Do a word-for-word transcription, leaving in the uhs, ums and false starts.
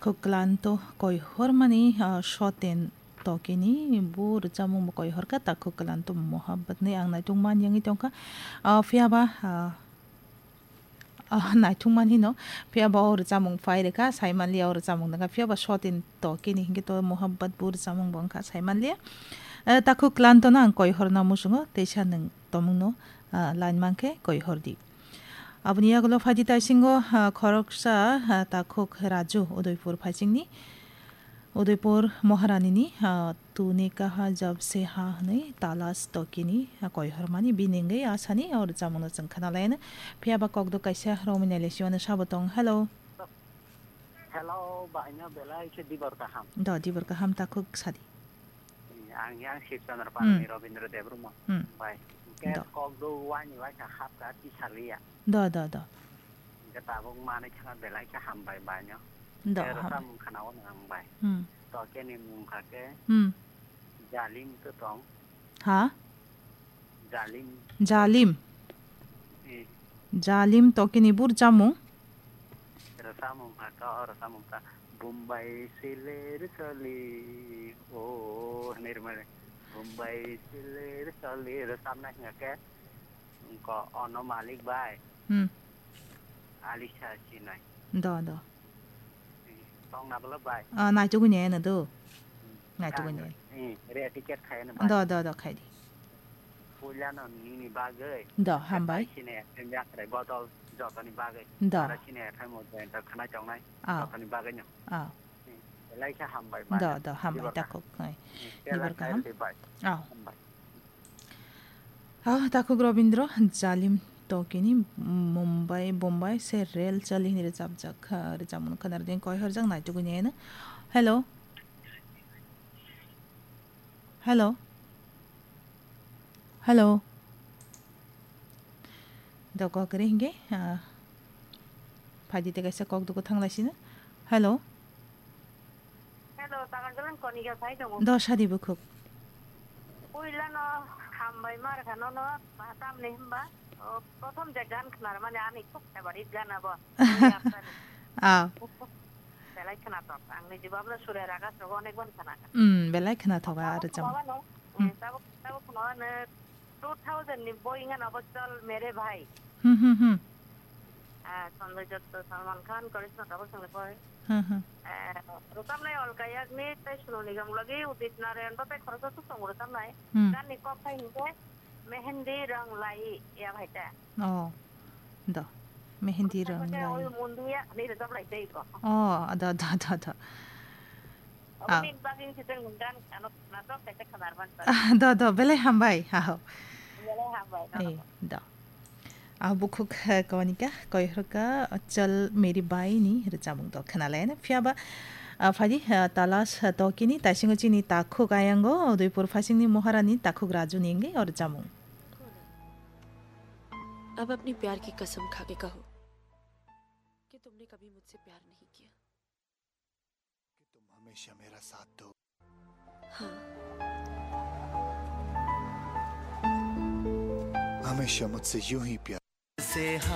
Takhuk klanto koihormani, ah, Soten Tokini bo rwchapmung bo koihorkha, Takhuk klanto muhabbatni ang naituk man yangwi tongkha. Ah, phiyaba, ah, ah, naituk man hino, phiyaba o rwchapmung phai rwkha, saimanliya o rwchapmung nangkha, phiyaba Soten Tokini hinkhe to muhabbat bo rwchapmung bo wngkha, saimanliya. Eh, Takhuk klantono ang koihorna muchungo, teisa nwng tomungno, ah, line mankhe koihordi. Aboni yagulo phaidi taisingo, ah, khoroksa, ah, Takhuk Raju, Udaipur phaisingni, Udaipur Maharanini, ah, "Tune kaha jab se ha" hwnwi Talas Tokini, ah, koihormani bini wngwi asani o rwchapmungno chwng khwnalaino. Phiyaba kokdok kaisa romwi nailaisimano sabo tong. Hello. Hello, baino belai khe dibor kaham. Do, dibor kaham, Takhuk sadi. Ang yang Shivchandra Hmm. Palni Robindra Debbarma Hmm. bai. Hingke Do. Kokduk waini waisa hapka tisaliya. Do, do, do. Hingke tabuk manwi khana belai khe hambai baino. Do, Tei hambai. Rwchapmung khana o nang bai. Hmm. To keni mung kha khe Hmm. Jalim to tong. Ha? Jalim. Jalim. Eh. Jalim to kini bo rwchapmung. Rwchapmung kha ka, o rwchapmung kha. Bombay se le rwchali, o, hinwi rwmani. Bombay se le rwchali, rwchapnai hingkha khe, ko ono malik bai. Hmm. Alisa sinai. Do, do. Tong na bwlwk bai. Ah, naitugwi ne ano do. Hmm. Naitugwi ne. Hmm, re ticket khai ano bai. Do, do, do, khai di. Puila no nini bagwi. Do, hambai. Bai sini yakre botol jotoni bagwi. Do. Ara sini khai mo join to khana chongnai. Ah. Jotoni bagwi no. Ah. Hmm. Belai khe hambai bai. Do, do, hambai Dibor ta kaham. Kok. Hai. Hmm. Dibor Belai kaham. Khai bai. Ah. Hambai. Ah, Takhuk Robindra, Jalim Tokini, Mumbai, Bombay se rel chali hinwi rwchapjak, ah, rwchapmung khwnarwdi koihorjak naitugwi neno. Hello. Hello. Hello. Do kok kwrwi hinkhe, ah, phaidi tei kaisa kok dugo thanglaisino. Hello. Hello, takan jalan konika sai tongo. Do sadi bukhuk. Puila no hambai mar khano no, tamni himba, o, prothom je gan khnar mane ani khub favorite gan abo. Ah. Belai khna tok. Ang ni jibab no sure raga sogo onek ban khna. Hmm, belai khna tok ar jam. Tabuk, tabuk, tabuk khna no two thousand ni boi wngkha no bo Chal Mere Bhai. Hmm, hmm, hmm. Ah, Sanjay Dutt, Salman Khan, Karisma Kapoor songni poi. Hmm, hmm. Ah, rwchapnai Alka Yagnik tei Sonu Nigam logi Udit Narayan bo tei khoroksa swk tongo rwchapnai. Hmm. Ganni kok khai hinkhe Mehendi Rang Lai ya bhai ta. Oh, do. Mehendi Rang Lai. Oi Mundiya ni rwchaplai tei ko. Oh, do, do, do, do. Aboni bagwi se chwng gan ano natok kaisa khwnar man. Ah, do, do, belai hambai, aho. Belai hambai, no. Eh, do. Ah, bukhuk, eh, konika, koihorka, Chal Mere Bhai ni rwchapmung do khwnalaina. Phiyaba, ah, phaidi, ah, Talas, ah, Tokini, taisingo chini Takhuk ayango, Udaipur phasingni Maharani Takhuk Raju ni wngwi o rwchapmung. अब अपनी प्यार की कसम खा के कहो कि तुमने कभी मुझसे प्यार नहीं किया। कि तुम हमेशा मेरा साथ दो। हाँ। हमेशा मुझसे यूं ही प्यार